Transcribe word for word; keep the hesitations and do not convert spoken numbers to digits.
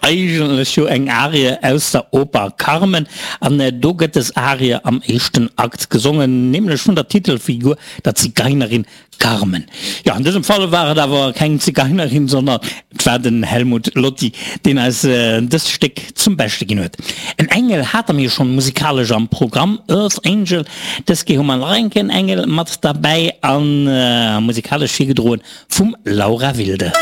Eigentlech jo eng Arie aus der Oper Carmen, an do gëtt des Arie am éischten Akt gesongen, nämlech vun der Titelfigur, der Zigeinerin Carmen. Jo, an dësem Fall war et awer keng Zigeinerin, sondern et war den Helmut Lotti, deen eis dëst Stéck zum Beschte ginn huet. En Engel hate mir schonn musikalesch am Programm, Earth Angel. Dës Kéier hu mer nach eng Kéier en Engel mat derbäi a musikalesch virgedroen vum Laura Wilde.